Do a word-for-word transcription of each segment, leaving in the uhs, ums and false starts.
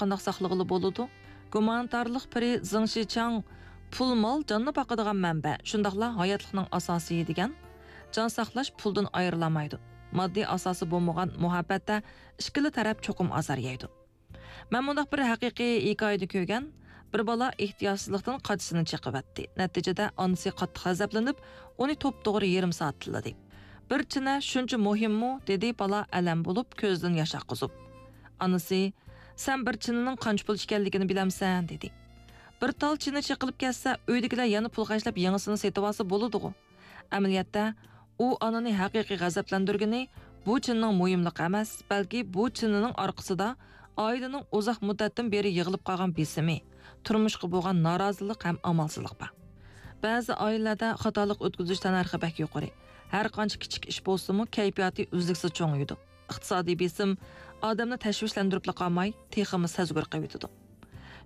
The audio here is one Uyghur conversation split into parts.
قانداق ساقلىغىلى بولىدۇ؟ گۇمانىتارلىق پىرى زېڭ شىچاڭ پۇل مال جاننى باقىدىغان مەنبە، شۇنداقلا ھاياتلىقنىڭ ئاساسى دېگەن، جان ساقلاش پۇلدىن ئايرىلالمايدۇ. ماددىي ئاساسى بولمىغان مۇھەببەتتە ئىككىلا تەرەپ چوقۇم ئازار يەيدۇ. مەن مۇنداق بىر ھەقىقىي ھېكايىدە كۆرگەن، بىر بالا ئېھتىياتسىزلىقتىن قاچىسىنى چېقىۋەتتى. نەتىجىدە ئانىسى قاتتىق غەزەپلىنىپ، ئۇنى توپتوغرا يېرىم سائەت تىللىدى. «بىر چىنە شۇنچە مۇھىممۇ؟» دېدى بالا ئەلەم بولۇپ، كۆزىدىن ياش ئاققۇزۇپ. ئانىسى، «سەن بىر چىنىنىڭ قانچە پۇل ئىكەنلىكىنى بىلەمسەن؟» دېدى. «بىر تال چىنە چېقىلىپ كەتسە، ئۆيدىكىلەر يەنە پۇل خەجلەپ يېڭىسىنى سېتىۋالسا بولىدىغۇ.» ئەمەلىيەتتە، ئۇ ئانىنى ھەقىقىي غەزەپلەندۈرگىنى بۇ چىنىنىڭ مۇھىملىقى ئەمەس، بەلكى بۇ چىنىنىڭ ئارقىسىدا ئائىلىنىڭ ئۇزاق مۇددەتتىن بېرى يىغىلىپ قالغان بېسىمى، تۇرمۇشقا بولغان نارازىلىق ھەم ئامالسىزلىق بار. بەزى ئائىلىلەردە خاتالىق ئۆتكۈزۈش تەننەرخى بەك يۇقىرى. ھەر قانچە كىچىك ئىش بولسىمۇ، كەيپىياتى ئۈزلۈكسىز چوڭىيىدۇ. ئىقتىسادىي بېسىم ئادەمنى تەشۋىشلەندۈرۈپلا قالماي، تېخىمۇ سەزگۈر قىلىۋېتىدۇ.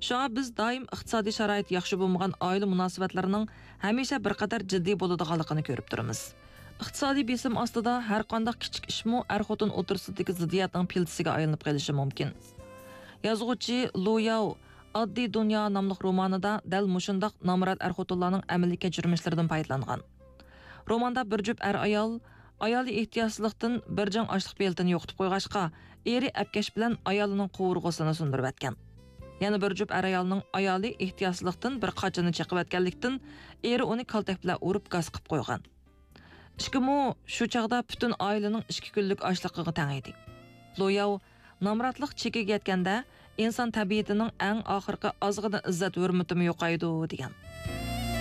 شۇڭا بىز دائىم ئىقتىسادىي شارائىتى ياخشى بولمىغان ئائىلە مۇناسىۋەتلىرىنىڭ ھەمىشە بىر قەدەر جىددىي بولىدىغانلىقىنى كۆرۈپ تۇرىمىز. ئىقتىسادىي بېسىم ئاستىدا ھەر قانداق كىچىك ئىشمۇ ئەر-خوتۇن ئوتتۇرىسىدىكى زىددىيەتنىڭ پىلتىسىگە ئايلىنىپ قېلىشى مۇمكىن. يازغۇچى لۇ ياۋ ئاددىي دۇنيا ناملىق رومانىدا دەل مۇشۇنداق نامرات ئەر-خوتۇنلارنىڭ ئەمەلىي كەچۈرمىشلىرىدىن پايدىلانغان. روماندا بىر جۈپ ئەر-ئايال ئايالى ئېھتىياتسىزلىقتىن بىر جىڭ ئاشلىق پېلىتىنى يوقىتىپ قويغاچقا، ئېرى ئەپكەش بىلەن ئايالىنىڭ قوۋۇرغىسىنى سۇندۇرۇۋەتكەن. يەنە بىر جۈپ ئەر-ئايالنىڭ ئايالى ئېھتىياتسىزلىقتىن بىر قاچىنى چېقىۋەتكەنلىكتىن، ئېرى ئۇنى كالتەك بىلەن ئۇرۇپ گاس قىپ قويغان. ئىككىمۇ شۇ چاغدا پۈتۈن ئائىلىنىڭ ئىككى كۈنلۈك ئاشلىقىغا تەڭ ئىدى. لوياۋ، نامراتلىق چېكىگە يەتكەندە، ئىنسان تەبىئىتىنىڭ ئەڭ ئاخىرقى ئازغىنە ئىززەت-ھۆرمىتىمۇ يوقايدۇ، دېگەن.